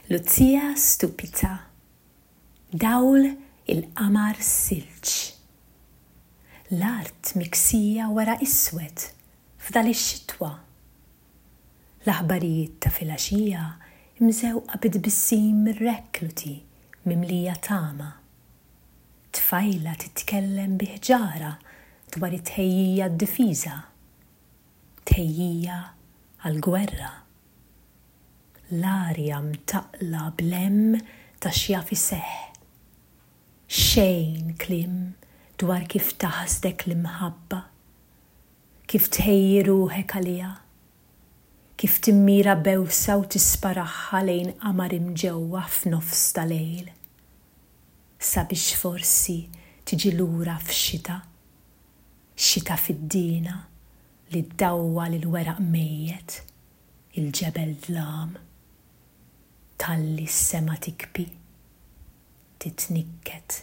Lucia Stupita. Dawl il-qamar silġ. L-art miksija weraq iswed f'dal ix-xitwa. L-aħbarijiet ta' filgħaxija mżewqa bi tbissim mir-rekluti mimlija tama. Tfajla titkellem bi ħġarha dwar it-tħejjija għad-difiża. Tħejjija għall-gwerra. L-arja mtaqqla bl-hemm ta' x'jaf iseħħ. Xejn kliem dwar kif taħsdek l-imħabba. Kif tħejji ruħek għaliha. Kif timmira bewsa u tisparaħħa lejn qamar imġewwaħ f'nofs ta' lejl. Sabiex forsi tiġi lura f'xita. Xita fid-dina li ddawwal il-weraq mejjet, il-ġebel dlam. Tgħalli s-sema tikbi. Titnikket.